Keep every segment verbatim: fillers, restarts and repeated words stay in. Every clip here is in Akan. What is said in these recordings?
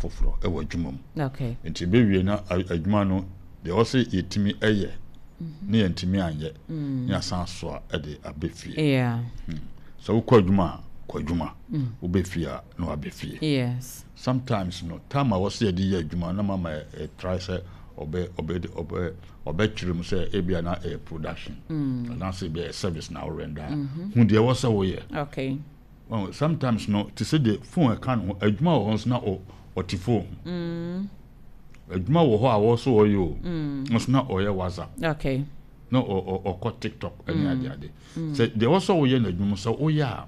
Foforɔ ɛwɔ adwuma mu. Okay nti bɛwie na a- adwuma no deɛ ɔsɛ yɛtumi ɛyɛ ne yɛntumi anyɛ ne yɛasan so a ɛde abɛ fie. Yeah sɛ wokɔ adwuma a, kɔ adwuma, wobɛ fie a, na wabɛ fie. Yes sometimes no, time a wɔsɛ yɛde yɛ adwuma na mama ɛ try sɛ ɔbɛ ɔbɛ ɔbɛ ɔbɛkyerɛ mu sɛ ebia na ɛyɛ production anaasɛ ebi ɛyɛ service na ɔrender a, hu deɛ ɛwɔ sɛ woyɛ. Okay well, sometimes no, te sɛ de phone ɛka no ho, adwuma wɔ hɔ nso na ɔ ɔte phone ho. Adwuma wɔ hɔ a wɔso ɔyɛ o, nso na ɔyɛ WhatsApp, okay na ɔ- ɔ- ɔkɔ TikTok ɛne ade ade. Sɛ deɛ ɛwɔ sɛ woyɛ no adwuma sɛ woyɛ a,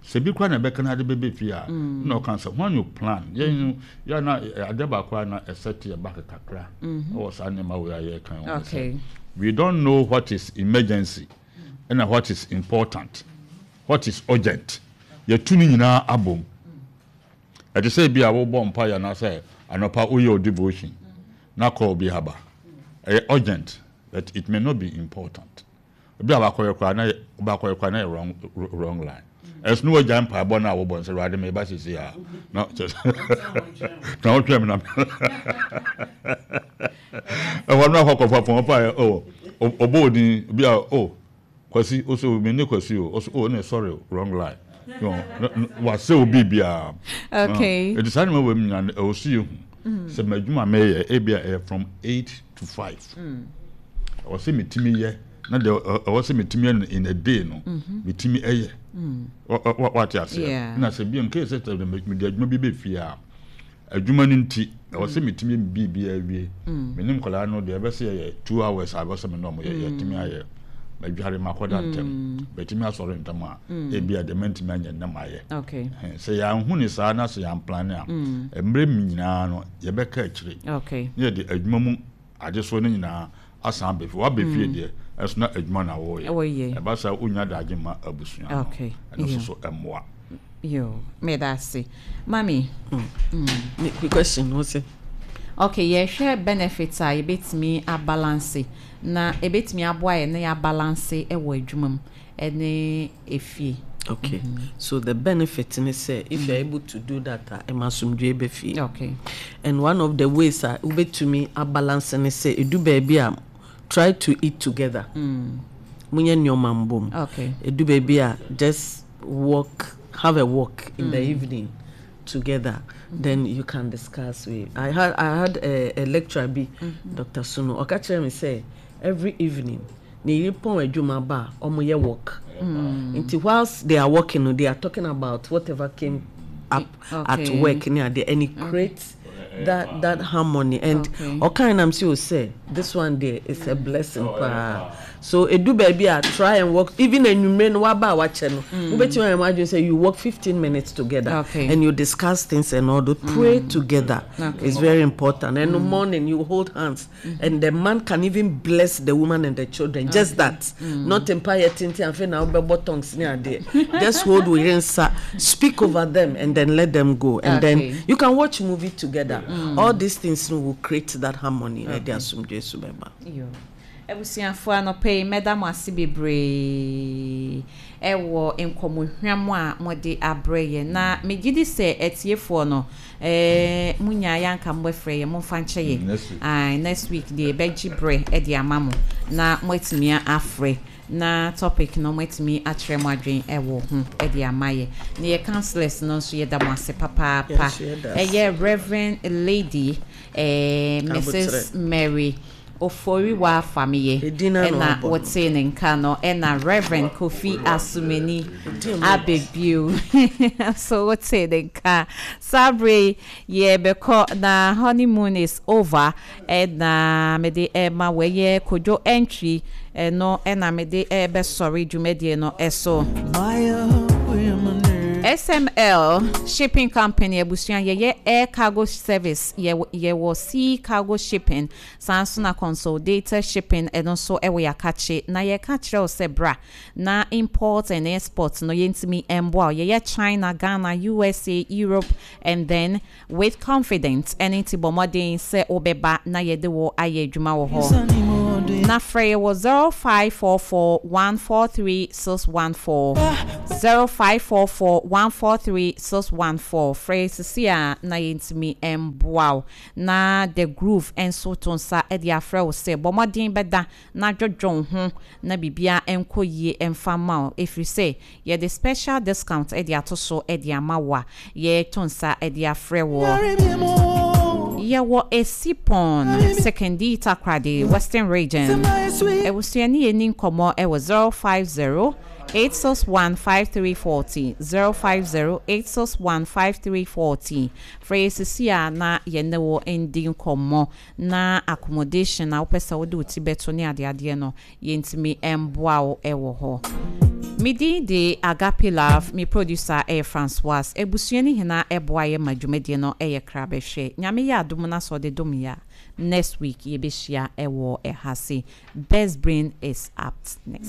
sɛ bi koraa na ɛbɛka no ade bɛbɛ fie a, na ɔka sɛ when you plan yɛn no yɛ na ɛ, ade baako a na ɛsɛ te yɛ back kakra ɛwɔ saa nneɛma wei a yɛka ho ne sɛ Okay. we don't know what is emergency ɛna what is important, what is urgent. Yɛtu no nyinaa abom. Ɛte sɛ bi a wobɔ mpa yɛ anaasɛ anɔpa woyɛ o devotion na call bi aba, ɛyɛ urgent but it may not be important. Obi a wakɔyɛ koraa na yɛ wakɔyɛ koraa na yɛ wrong wrong line. Ɛso ne wagya mpaebɔ no a wobɔ nsɛ, "Awurade, meba sisi a," na kyerɛ sɛ na wotwɛn me na ɛhɔ no akɔ kɔfa fɔn ɔfa yɛ o, ɔbɔ odin bi a, "O Kwasi," ɔsɛ, "Mi ne Kwasi o," ɔsɛ, "O ne sorry, wrong line," wasɛ obi biara. Okay. Ɛti saa nneɛma wɔ mu nyinaa no, ɛwɔ so yɛ hu sɛ m'adwuma mɛyɛ, ebi a ɛyɛ from eight to five, ɛwɔ sɛ metumi yɛ na deɛ ɛ- ɛwɔ sɛ metumi yɛ no in a day no, metumi ɛyɛ. Wa- wa- wate aseɛ? Yeah. Na sɛ bi nke sɛ sɛ mede adwuma bi bɛ fie a, adwuma no nti ɛwɔ sɛ metumi yɛ biribi awie. Me ne nkwadaa no deɛ, ɛbɛsɛ yɛ two hours a ɛbɛsɛ me ne ɔmo yɛ, yɛtumi ayɛ, madware makɔda ntɛm, bɛtumi asɔre ntɛm a, ebi a deɛ mɛntumi anyɛ nnɛ mayɛ. Okay Ɛhɛn, sɛ yɛanhu ne saa na sɛ yɛamplan a, mmerɛ mu nyinaa no yɛbɛka akyire okay ne yɛde adwuma mu adesoɔ no nyinaa asan abɛ fie. Wabɛ fie deɛ, ɛso na adwuma na wɔreyɛ. Wɔyɛ. Ɛba saa, wonya dagye ma abusua no. Okay. Ɛno nso Yeah. so ɛmmoa. Yo, meda ase, mami. Me me question no sɛ Okay, yɛhwɛ benefits a yɛbɛtumi abalance na ɛbɛtumi aboa yɛ na yɛabalance ɛwɔ adwuma mu ɛne efie. Okay, so the benefit ne sɛ if you are able to do that a, ɛma asomdwe bɛ fie. Okay and one of the ways a wobɛtumi abalance ne sɛ ɛdu baabi a, try to eat together, monyɛ nneɔma mbom. Okay ɛdu baabi a, just walk, have a walk in the evening together, then you can discuss with. I had I had a, a lecturer bi, Doctor Sunu, ɔka kyerɛ me sɛ every evening ne yere pɔn adwuma ba a, ɔmo yɛ walk. Nti whilst they are walking no, they are talking about whatever came up at Okay. work ne adeɛ, and it creates that that harmony and Okay. ɔkan nam sɛ o sɛ this one there is a blessing paa. So edu baabi a, try and walk, even enwumere no waba a wakyɛ no, wobɛtumi ayɛ mo adwene sɛ you walk fifteen minutes together Okay. and you discuss things and all that. Pray together Okay. is very important. And in the morning you hold hands and the man can even bless the woman and the children, just that, not mpaeɛ tenten afei na wobɛbɔ tongues ne adeɛ. Just hold wo yere nsa, speak over them and then let them go, and Okay. then you can watch movie together. All these things no will create that harmony na ɛde asomdwe so bɛba. Yo. Abusuafoɔ, anɔpɛ yi mɛda mo ase bebree ɛwɔ nkɔmmɔhwam a mode abrɛ yɛ, na megye di sɛ atiefoɔ no, ɛɛ munya yɛanka mobɛfrɛ yɛ, momfa nkyɛ yɛ. Next week. Aye, next week deɛ yɛbɛgye berɛ ɛde ama mo na moatumi afrɛ na topic no moatumi akyerɛ mo adwen ɛwɔ ho ɛde ama yɛ. Na yɛ councillors no nso, yɛda mo ase papaapa. Yes, yɛda ase. Ɛyɛ Reverend Lady eh, Missus Abotrɛ. Mary Oforiwa Fameye Edin na na ɛna ɔbɔ no. wɔtee ne nka no, ɛna Reverend Kofi Asumani Abebio so wɔtee ne nka. Saa bere yi, yɛbɛkɔ na honeymoon is over, ɛna mede ɛma wɔyɛ Kodwo entry ɛno, ɛna mede ɛbɛsɔre dwumadie no ɛso. S M L Shipping Company, abusua, yɛyɛ air cargo service, yɛwɔ yɛwɔ sea cargo shipping, saa nso na consolidated shipping ɛno nso ɛwɔ yɛakakye. Na yɛka kyerɛ wo sɛ bra na import and export no yɛntumi mboa wo. Yɛyɛ China, Ghana, U S A, Europe and then with confidence. Ɛne nti bɔ mmɔden sɛ wobɛba na yɛde wɔ ayɛ adwuma wɔ hɔ, na frɛ yɛ wɔ zero five four four one four three six one four. Zero five four four one four three six one four. Frɛ sisi a na yɛntumi mboa wo. Na The Groove nso to nsa de afrɛ wo sɛ bɔ mmɔden bɛda na dwodwo wo ho na biribia nkɔ yie mfa ma wo, ɛfiri sɛ yɛde special discount de ato so de ama wo a yɛto nsa de afrɛ wo. Yɛwɔ Esipon, Sekondi Takoradi, Western Region. Abusua ne yɛni nkɔmmɔ ɛwɔ zero five zero eight six one five three forty zero five zero eight six one five three forty. Frɛ yɛ sisi a na yɛne wɔ ndi nkɔmmɔ na accommodation a wopɛ sɛ wode wo ti bɛto ne adeadeɛ no, yɛntumi mboa wo ɛwɔ hɔ. Me din de Agape Love, me producer ɛyɛ Francois. Abusua ne nyinaa ɛboa yɛ ma dwumadie no ɛyɛ kra bɛhwɛ. Nyame yɛ adom na sɛ ɔde dom yɛ a, next week yɛbɛhyia ɛwɔ ɛha se. Best Brain is up next.